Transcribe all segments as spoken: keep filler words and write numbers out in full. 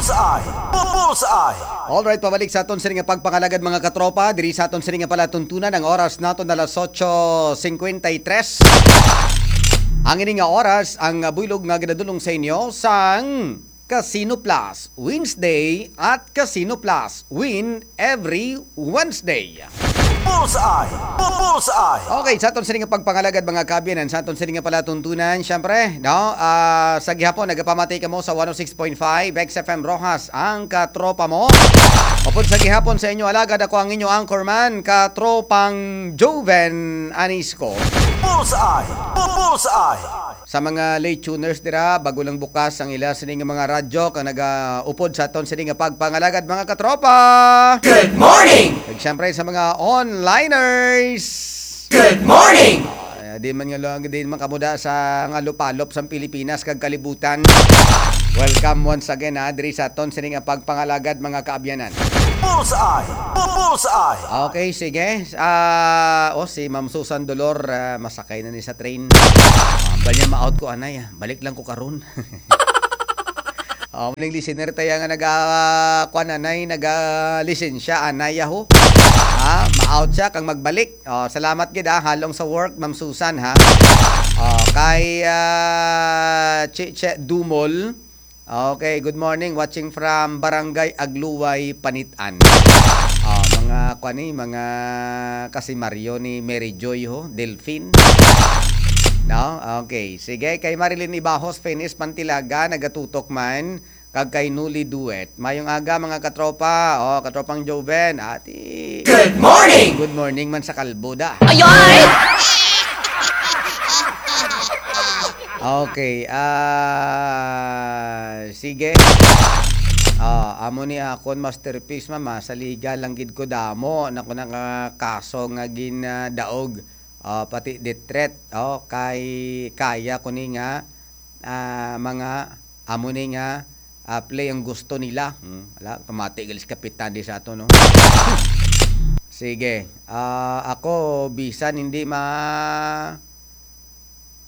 Bullseye! Bullseye! Alright, pabalik sa aton sini nga pagpangalagad, mga katropa. Diri sa aton sini nga palatuntunan, ang oras nato na alas otso cincuenta y tres. Ang ini nga oras, ang buylog nga ginadulong sa inyo sang Casino Plus Wednesday at Casino Plus Win every Wednesday. Bullseye! Bullseye! Okay, sa aton sini nga pagpangalagad, mga kaabyanan, sa aton sini nga palatuntunan, syempre, no? Ah, sa gihapon, nagapamati kamo sa one oh six point five X F M Roxas, ang katropa mo. Upod sa gihapon sa inyo alagad, ako ang inyo anchorman, katropang Joven Anisco. Bullseye! Bullseye! Sa mga late tuners dira, bago lang bukas ang ila sini nga mga radyo, kag nagaupod sa aton sini nga pagpangalagad, mga katropa. Good morning! Kag syempre sa mga onliners. Good morning! Ah, di man nga lang, di man kamuda sa nga lupalop sa Pilipinas kag kalibutan. Welcome once again, ha, diri sa aton sini nga pagpangalagad, mga kaabyanan. Bullseye! Bullseye! Okay, sige. Ah, oh, si Ma'am Susan Dolor, ah, masakay na ni sa train. Ah, ambal niya ma-out ko, anay, ah. Balik lang ko karon. Oh, maling listener tayo nga naga, kuan, anay, naga lisensya, anay, yaho. Ha? Ma-out siya kang magbalik. Oh, salamat gid, ah, halong sa work, Ma'am Susan, ha. Oh, kay, ah, Chiche Dumol. Okay, good morning. Watching from Barangay Agluway, Panitan. Ah, mga, kuan ni, mga kasimaryo ni Mary Joy, ho, Delfin. No? Okay, sige. Kay Marilyn Ibajos, Finis Pantilaga, nagatutok man. Kag kay Nuli Duet. Mayong aga, mga katropa. Oh, katropang Joven, ati. Good morning! Good morning man sa kalbo, da. Ayoy! Okay, ah, sige. Ah, amo ni akon masterpiece, mama. Sa liga lang gid ko damo na ko nakakaso nga ginadaog. Ah, pati detret, oh, kay kaya ko ni nga, ah, mga amo ni nga, ah, play ang gusto nila. Hmm, wala, pamati galis kapitan di sa ato, no? Sige. Ah, ako, bisan hindi ma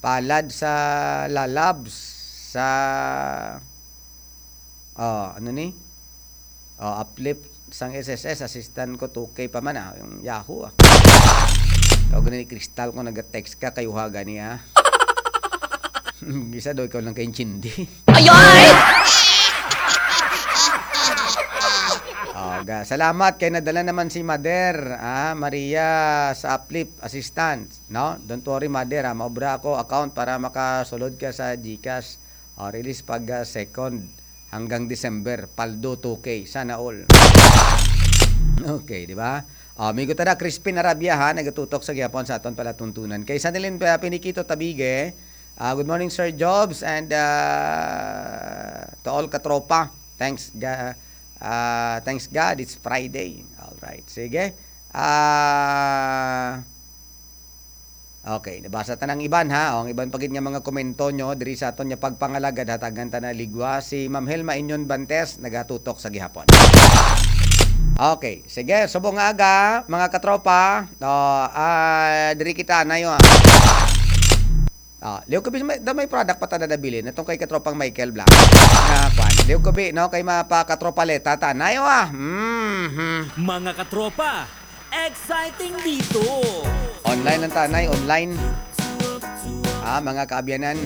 palad sa lalabs sa, oh, ano ni? Oh, uplift sang S S S, assistant ko, two K pa man, ah. Yung Yahoo, ah. Ikaw gani ni Crystal, kung nag-text ka, kayuha gani, ah. Isa daw, ikaw lang kaintindi. Ayoy! Oh, ga-, salamat kay nadala naman si Mader, ah, Maria sa uplift assistant, no? Don't worry, Mader, ah, maobra ako account para makasulod ka sa GCash. Oh, release pag, ah, second hanggang December, paldo two K. Sana all. Okay, di ba? Oh, amigo ta na, Crispin Arabia, ha, nagatutok sa gihapon sa aton palatuntunan. Kay Sanilin pa, Pinikito Tabige, ah, good morning, Sir Jobs, and, ah, to all katropa. Thanks, ga-, ah, thanks God, it's Friday. All right. Sige. Ah, okay, nabasa ta ng iban, ha. O, ang iban pa gid nga mga komento nyo diri sa aton nga pagpangalagad, hatagan ta na ligwa. Si Ma'am Helma Inyon Bantes nagatutok sa gihapon. Okay, sige, subong nga aga, mga katropa. O, ah, diri kita, nayo, ah. Ah, liw ko, may, may product pa ta nadabilin. Itong kay katropang Michael Blanco. Nga, kwan. Liw ko, bi, no? Kay mapa katropaleta ta. Nayo, ah. Mhm. Mga katropa, exciting dito. Online lang ta, nay, online. Ah, mga kaabyanan.